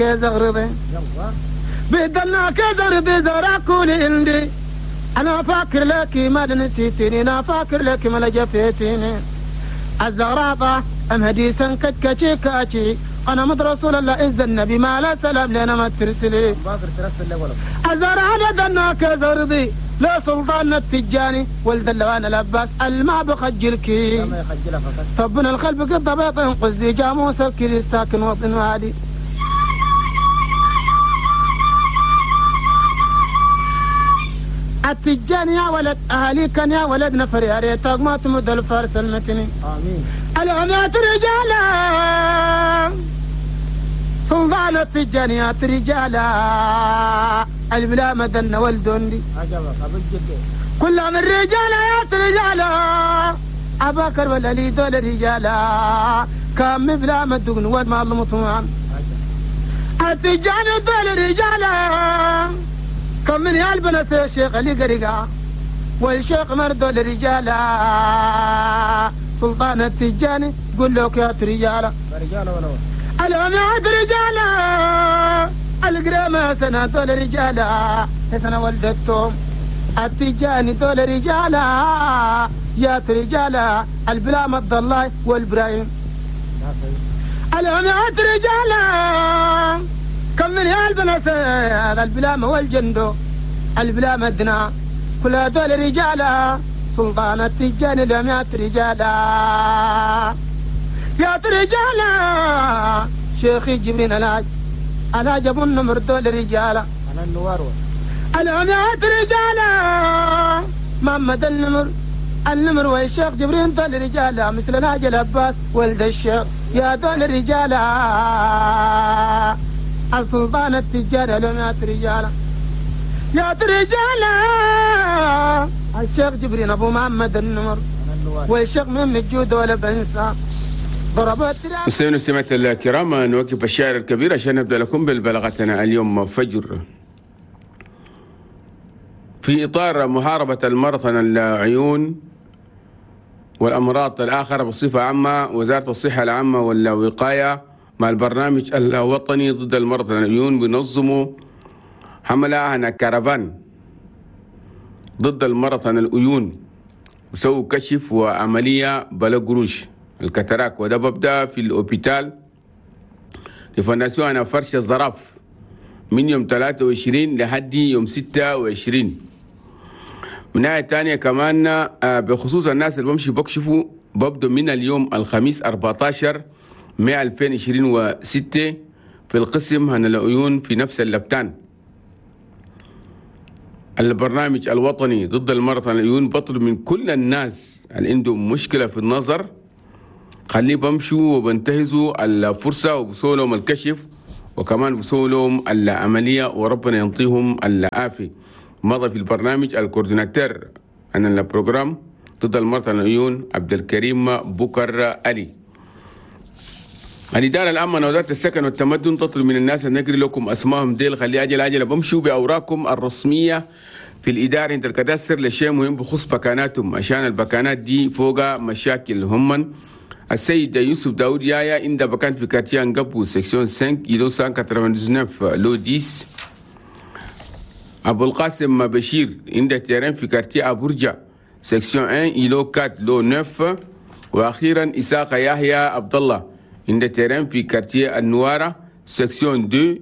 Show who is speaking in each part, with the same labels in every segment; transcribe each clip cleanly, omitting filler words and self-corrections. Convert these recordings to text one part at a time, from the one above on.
Speaker 1: كيزغرضي بدنا كيزغرضي زراكولي عندي أنا فاكر لك ما نسيتني أنا فاكر لك ما لجفيتني الزغراطة أم هديسا كتكتي كاتي أنا مد رسول الله إذا النبي ما لا سلام لنا ما ترسلي الزرع دنا كزرضي لا سلطان التجاني ولد اللوان الأباس الما بخجلك طبنا الخلف قد بيط قزي جاموس الكري ساكن وطن وادي التجاني يا ولد أهلي كان يا ولد نفر يا ريتك ما تمد الفارس المتني آمين العمات رجالا سلطان التجانيات رجالا البلا مدن والدندي كلهم الرجال يا رجالا أباكر ولا لي دول رجالا كام بلا مدن والما المطمعان التجاني دول رجالا كم من يالبنة الشيخ اللي قرقا والشيخ مردول رجالا سلطان التجاني قل لك يا رجالا العماد رجالا القرامة سنة دول رجالا سنة ولدتهم التجاني دول رجالا يا رجالا البلا مد الله والبرايم العماد رجالا كم من يالبنة البلامة والجندو البلامة دنا كل هذول رجالا سلطان التجاني لم رجالا يا رجالا شيخي جبرين الهاج الهاج ابو النمر دول رجالا انا النوار العميات رجالا محمد النمر النمر والشيخ جبرين دول رجالا مثل الهاج العباس ولد الشيخ يا دول رجالا السلطان التجاري لمات رجالا يا رجالا الشيخ جبرين ابو محمد النمر والشيخ من الجود ولا بنسى
Speaker 2: مستمعينا ومستمعات الكرام، نوقف الشاعر الكبير عشان نبدا لكم بالبلاغتنا اليوم فجر. في اطار محاربه المرض العيون والامراض الاخرى بصفه عامه، وزاره الصحه العامه والوقايه مع البرنامج الوطني ضد المرض العيون بينظموا حملة هنا كارفان ضد المرض العيون، وسووا كشف وعملية بلا قروش ال cataracte، وده ببدأ في ال hôpital ل fondation أنا فرش الزراف من يوم 23 لحد يوم 26. من ناحية تانية كمان بخصوص الناس اللي بمشي بكشفوا، ببدو من اليوم الخميس 14 مايو 2026 في القسم هنا العيون في نفس اللبتان. البرنامج الوطني ضد المرض العيون بطلب من كل الناس اللي عندهم مشكلة في النظر خليه بمشوا وبنتهزوا الفرصة وبسوا لهم الكشف وكمان بسوا لهم العملية وربنا ينطيهم العافية. مضى في البرنامج ال coordinateur عن ال programme ضد المرض العيون عبد الكريم بكر علي. الإدارة العامة لوزارة السكن والتمدن تطلب من الناس أن نقري لكم أسمائهم ديل، خلي أجل أجل بمشوا بأوراقكم الرسمية في الإدارة عند ال cadastre لشيء مهم بخصوص بكاناتهم، عشان البكانات دي فوق مشاكل هم. السيد يوسف داود يايا عند بكان في quartier أنقبو section 5 îlot 199 lot 10. أبو القاسم بشير عند terrain في quartier أبورجا section 1 îlot 4 lot 9. وأخيرا إساق يحيى عبد الله عند terrain في quartier النوارة section 2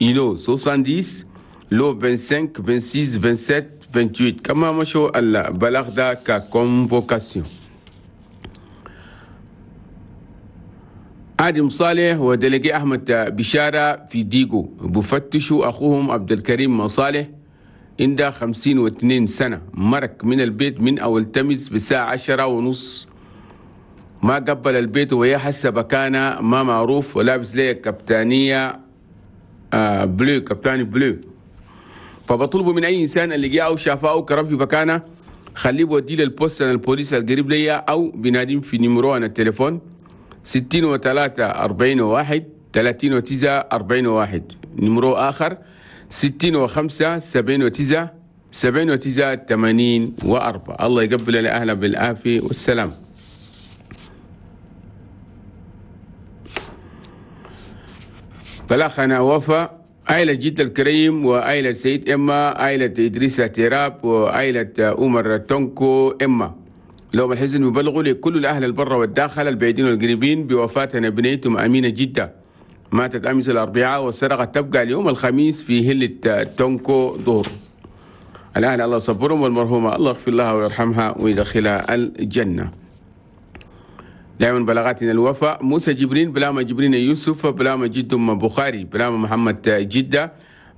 Speaker 2: îlot 70 lot 25 26 27 28. كما مشوا البلاغ ده ك convocation. آدم صالح و délégué أحمد بشارة في ديغو بفتشوا أخوهم عبد الكريم صالح عند 52 سنة، مرك من البيت من أول تمس بالساعة 10:30، ما قبل البيت وهي حاسة بكانة ما معروف، ولابس ليه كابتانية bleu، كابتاني bleu. فبطلبوا من أي إنسان اللي جاء أو شافه أو كرب في بكانة خليه بوديه لل poste البوليس القريب ليا أو بناديم في numéro أنا التليفون 63 41 39 41. numéro آخر 65 79 79 84. الله يقبل الأهل بالعافية والسلام. بلاخنا وفا عائلة جد الكريم وعائلة سيد إما عائلة إدريس تيراب وعائلة عمر تونكو إما. لهم الحزن ببلغوا لكل الأهل البر والداخل البعيدين والقريبين بوفاة بنيتهم أمينة جدة، ماتت أمس الأربعاء والسرقة تبقى اليوم الخميس في هلة تونكو ظهر. الأهل الله صبرهم، والمرحومة الله يغفر لها ويرحمها ويدخلها الجنة. دائما بلاغاتنا الوفاء موسى جبرين بلاما جبرين يوسف بلاما جدم بخاري بلاما محمد جدة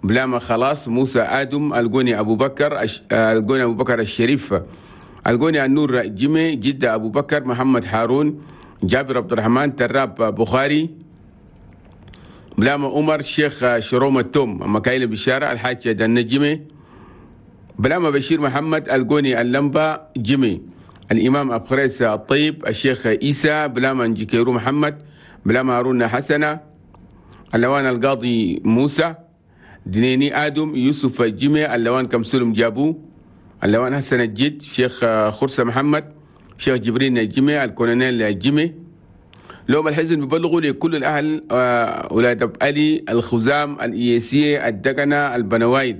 Speaker 2: بلاما خلاص موسى آدم القوني أبو بكر القوني أبو بكر الشريف القوني النور جيمي جدة أبو بكر محمد هارون جابر عبد الرحمن تراب بخاري بلاما عمر شيخ شروم التوم مكايل بشارة الحاج النجمي بلاما بشير محمد القوني اللمبة جيمي الإمام أبو خريس الطيب الشيخ إيسى بلاما نجيكيرو محمد بلاما هارون حسنة اللوان القاضي موسى دنيني آدم يوسف جيمي اللوان كمسلم جابو اللوان حسن الجد شيخ خرسة محمد شيخ جبرين جيمي الكولونيل جيمي. لهم الحزن ببلغوا لكل الأهل أولاد أبو علي الخزام الإياسية الدقنة البنوايل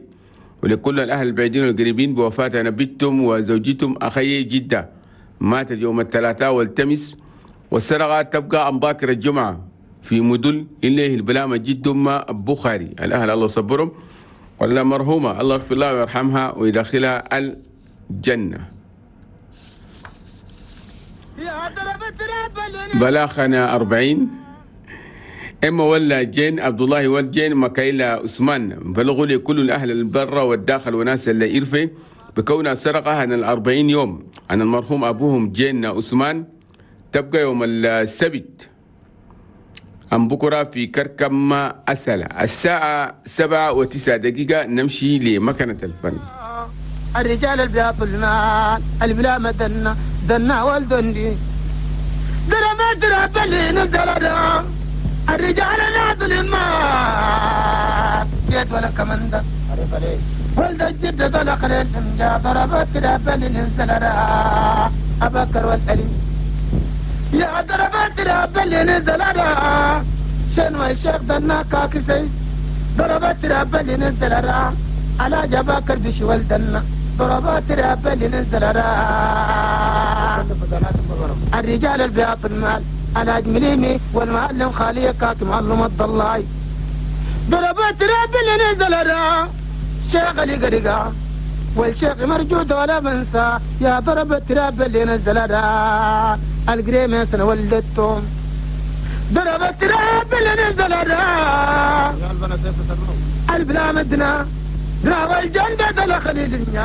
Speaker 2: ولكل الأهل البعيدين والقريبين بوفاة نبيتهم وزوجتهم أخي جدة ماتت يوم الثلاثاء والتمس والسرقة تبقى أم باكر الجمعة في مدل إليه البلامة جدهم بخاري. الأهل الله صبرهم ولا مرحومة الله يغفر لها ويرحمها ويدخلها الجنة. بلاخنا 40 إما ولا جين عبد الله والجين مكايلا عثمان بلغوا لي كل الأهل البر والداخل وناس اللي إرفي بكونها سرقة عن 40 يوم عن المرحوم أبوهم جين عثمان تبقى يوم السبت أم بكرة في كركم أسلة الساعة 7:09 نمشي لمكنة الفن.
Speaker 1: الرجال البياض المال البلا مدنا دنا والدندي درب درب اللي نزل الرجال ناضل المال جيت ولا كمندة ولد الجد طلق للفنجا ضربت درب اللي نزل أبكر والألي يا ضربت درب اللي نزل شنو الشيخ دنا كاكسي ضربت درب اللي نزل على جباكر بشي ولدنا ضربات راب اللي نزل الرجال البياض المال على جمليمي والمعلم خالية كاك معلم الضلاي ضربات راب اللي نزل شيخ اللي قرقا والشيخ مرجود ولا بنسى يا ضربت راب اللي نزل القريمة سنة ولدتهم ضربت راب اللي نزل البلا مدنا راوى الجنة دخل الدنيا.